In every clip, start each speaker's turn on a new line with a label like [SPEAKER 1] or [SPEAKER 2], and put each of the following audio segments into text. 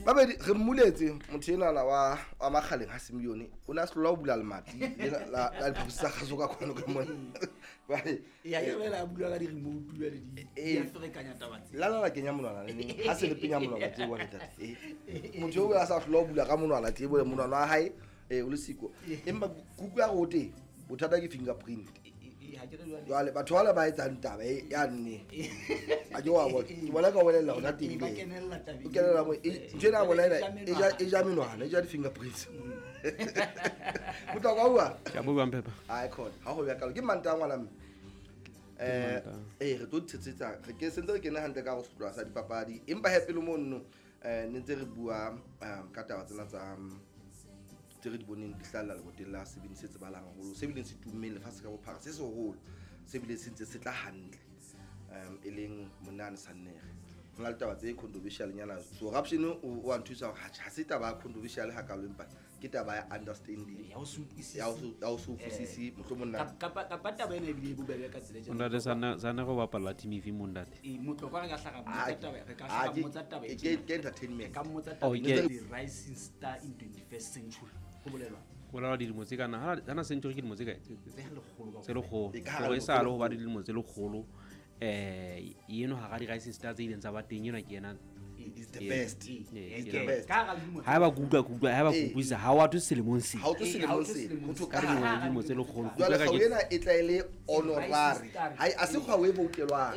[SPEAKER 1] Babedi re mmuletse motho enana wa Makgaleng ha Simeone, o ne a se hlola ho bula lemati lena la diphaposi tsa kgaso ka kwano ka mona. Jwale,
[SPEAKER 2] Ya ke fela a bula ka di-remote jwale di a ferekanya taba tse.
[SPEAKER 1] La la kenya monwana le neng ha se le penya monwana tje bona ntate. Motho eo a sa hlola ho bula ka monwana tje bole monwana wa hae o le siko. Empa kuku ya re o teng, bothata ke fingerprint.
[SPEAKER 2] Ha ke re jwale.
[SPEAKER 1] Jwale batho bale ba etsang taba e ya nne. A ke wa bona. Ke bona ka o bolella hona teng.
[SPEAKER 2] Ba kenella tabeng.
[SPEAKER 1] O kenella mo ntho ena ya bona ena e ja menwana, e ja di-fingerprints. Bohlokwa bua.
[SPEAKER 3] Ke a bua Mphepha.
[SPEAKER 1] Ai khona. Ha ho ya kalo ke Mantaha ngwana mme. Re tlo tshetsetsa re ke sentse re kene hantle ka ho sehlopha sa dipapadi, empa he pele mono ne ntse re bua ka taba tsena tsa tse re di boneng di hlahella leboteng la sebini se tsebahalang haholo, se bileng se tummeng lefatshe ka bophara, se seholo, se bileng se ntse se tla hantle, e leng Monane Sannere. Ho na le taba tse controversial nyana. So corruption o a nthusa hore ha se taba ya controversial hakalo, empa ke taba ya understanding.
[SPEAKER 2] Ya ho se utlwisise.
[SPEAKER 1] Ya ho se utlwisise, mohlomong nna.
[SPEAKER 2] Kapa taba ena ebile e bobebe ka tsela e tjena.
[SPEAKER 3] Ntate Sannere o bapalla team efe mo ntate?
[SPEAKER 2] Motlokwa re ka hlaga mmotsa taba, re ka hlaga mmotsa taba e tjena.
[SPEAKER 1] Ke entertainment.
[SPEAKER 2] Re ka mmotsa taba
[SPEAKER 3] Oh,
[SPEAKER 2] e
[SPEAKER 3] ke
[SPEAKER 2] The rising star in 21st century. Ho bolelwa.
[SPEAKER 3] Ho bolelwa dilemo tse kana, hana century ke dilemo tse kae?
[SPEAKER 2] Tse lekgolo ka
[SPEAKER 3] Tse lekgolo.
[SPEAKER 1] E ka hara
[SPEAKER 3] Hore e sa le ho ba
[SPEAKER 1] lekgolo.
[SPEAKER 3] dilemo tse lekgolo. Eno hara di-rising star tse ileng tsa ba teng, enwa ke yena.
[SPEAKER 1] Is the best.
[SPEAKER 3] Ke
[SPEAKER 1] the
[SPEAKER 3] yena.
[SPEAKER 1] best.
[SPEAKER 2] Ka hara dilemo tse
[SPEAKER 3] Ha eba ke utlwa, ke utlwa, ha eba ke utlwisisa, ha wa thwe selemong se.
[SPEAKER 1] Ha o thwe
[SPEAKER 2] Ha o
[SPEAKER 1] selemong
[SPEAKER 2] thwe
[SPEAKER 1] se.
[SPEAKER 2] selemong
[SPEAKER 1] Ho thwe
[SPEAKER 2] se.
[SPEAKER 1] ka
[SPEAKER 3] Ka dilemo tse lekgolo.
[SPEAKER 1] Jwale
[SPEAKER 3] Ke
[SPEAKER 1] kgau
[SPEAKER 3] utlwa
[SPEAKER 1] ena e tla e le honorary.
[SPEAKER 2] Rising star.
[SPEAKER 1] Ha e, a se kgau e boutelwang.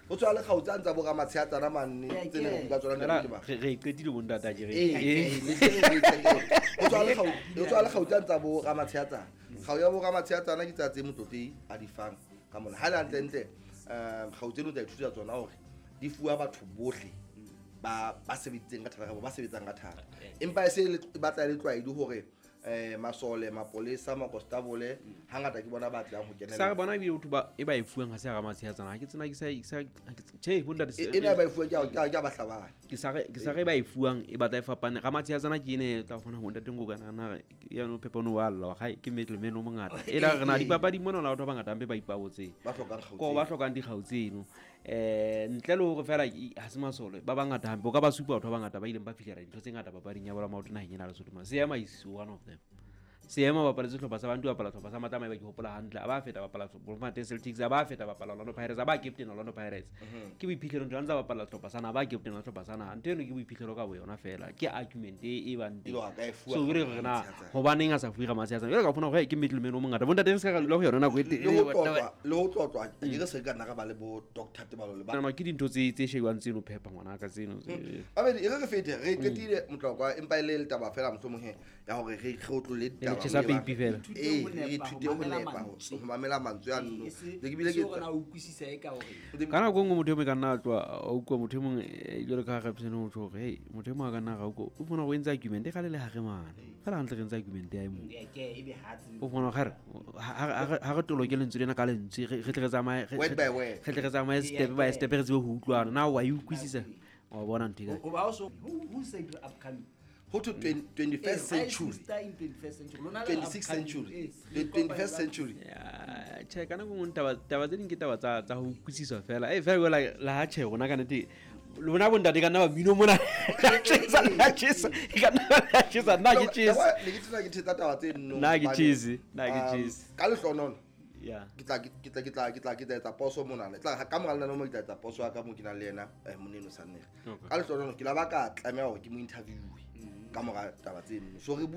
[SPEAKER 1] Ho tswa le kgau tsa ntsa bo ramatsheatsana mane, tse ne re bua tsona
[SPEAKER 3] Fela,
[SPEAKER 1] ntate ba.
[SPEAKER 3] re e qetile bo ntate, akere.
[SPEAKER 1] Le tse re e qetile. Ho tswa le kgau, ho tswa le kgau tsa ntsa bo ramatsheatsana. Kgau ya bo ramatsheatsana ke tsa tse motlotlehi a di fang ka mona. Ha le hantle ntle, kgau tseno tsa ithuta tsona hore di fuwa batho bohle ba sebeditseng ka thata kapa ba sebetsang ka thata. Empa e se le batla e le tlwaedi hore masole, mapolesa, makonstabole, hangata ke bona ba tlang ho kenela.
[SPEAKER 3] Sa re bona ebile batho ba e ba e fuwang ha se hara matsheatsana. Ha ke tsena, ke sa, ke sa, ha ke tjhe, bo ntate,
[SPEAKER 1] Ena ba e fuwang ke a bahlabani.
[SPEAKER 3] Ke sa re, ke sa re ba e fuwang e batla e fapane. Ramatsheatsana ke ene e tla kgona ho ntate Nkoka nana re, ya no Phepa no wa lla, ha ke meetlo meno mongata. E la re na dipapadi mona la batho ba bangata hampe ba ipabotseng.
[SPEAKER 1] Ba hlokang kgau
[SPEAKER 3] Ko ba
[SPEAKER 1] tseno.
[SPEAKER 3] hlokang dikgau tseno. Ntle le hore fela ha se masole, ba bangata hampe, o ka ba supa batho ba bangata ba ileng ba fihlela dintho tse ngata papading ya bolo ya maoto naheng ena ya Lesotho mona. Seema is one of them. Seema ba bapaletse sehlopha sa Bantu, bapala sehlopha sa Matlama, eba ke hopola hantle. A ba feta bapala Bloemfontein Celtics, a ba feta bapala Orlando Pirates, a ba captain Orlando Pirates. Ke boiphihlelo ntho a ntsa bapala sehlopha sa naha, ba captain la sehlopha sa naha. Ntho eno ke boiphihlelo ka boyona fela. Ke argument e bang teng.
[SPEAKER 1] Elo a ka e fuwa
[SPEAKER 3] So, re re na,
[SPEAKER 1] Ramatsheatsana.
[SPEAKER 3] hobaneng a sa fuwe Ramatsheatsana? Jwale ka fumana hore ke middleman o mongata. Bontate re se ka dula ho yona nako e
[SPEAKER 1] Le ho tlotlwa, le ho tlotlwa, ke re se ka nna ra ba le bo Doctor Tebalo le ba.
[SPEAKER 3] Nama ke dintho tse shebang tseno Phepa ngwana ka tseno tse.
[SPEAKER 1] Babedi, e re re fete, re qetile motlokwa, empa e le taba fela mohlomong he, ya hore re otlolle
[SPEAKER 3] Le
[SPEAKER 1] ditaba
[SPEAKER 3] tjhesa
[SPEAKER 1] moo e bang.
[SPEAKER 3] peipi fela.
[SPEAKER 1] Re ithute ho nepa, ho mamela mantswe a nno. Le ke bile ke
[SPEAKER 2] Se hore na o utlwisisa e ka hore.
[SPEAKER 3] Ka nako e nngwe motho e mong e ka nna a tloha, a utlwa motho e mong, jwalo ka ha re psene ho tjho hore, hey, motho e mong a ka nna ra utlwa, o fumana hore o entse argument, e kgale le hare mane. Fela hantle re entse argument ya e mong.
[SPEAKER 2] Ke, e be ha tsebe.
[SPEAKER 3] O fumana hore ha re toloke lentswe lena ka lentswe, re tle re tsamaye,
[SPEAKER 1] Word by word.
[SPEAKER 3] re tle re tsamaye step by step, re tsebe ho utlwana. Na wa e utlwisisa? Wa bona ntho e kae?
[SPEAKER 2] Ho ba so, who said upcoming?
[SPEAKER 1] Ho to 21st
[SPEAKER 2] Rising
[SPEAKER 1] century.
[SPEAKER 2] star in 21st century. Lona le
[SPEAKER 1] 26th
[SPEAKER 2] upcoming,
[SPEAKER 1] century.
[SPEAKER 2] le
[SPEAKER 1] The
[SPEAKER 2] kopa
[SPEAKER 1] 21st
[SPEAKER 2] jwang?
[SPEAKER 1] century.
[SPEAKER 3] Ya, tjhe, ka nako e nngwe taba tse ding ke taba tsa ho utlwisiswa fela. Fela jwale la ha tjhe, rona ka nnete, lona bontate ka nna ba mmino mona. La tjhesa, la tjhesa, ka nna la tjhesa, nna ke tjhese.
[SPEAKER 1] Yabo, ne ke tsena ke thetsa taba tse nno
[SPEAKER 3] Nna ke
[SPEAKER 1] hobane,
[SPEAKER 3] tjhese, nna ke tjhese.
[SPEAKER 1] Ka lehlohonolo,
[SPEAKER 3] Ya.
[SPEAKER 1] ke tla, ke tla, ke tla, ke tla, ke tla etsa poso mona. Le tla, ka mora lenaneo mo ke tla etsa poso ya ka mo ke nang le yena, Moneno Sannere.
[SPEAKER 3] Okay.
[SPEAKER 1] Ka lehlohonolo, ke la ba ka tlameha hore ke mo interview-e ka mora taba tse nno. So re bua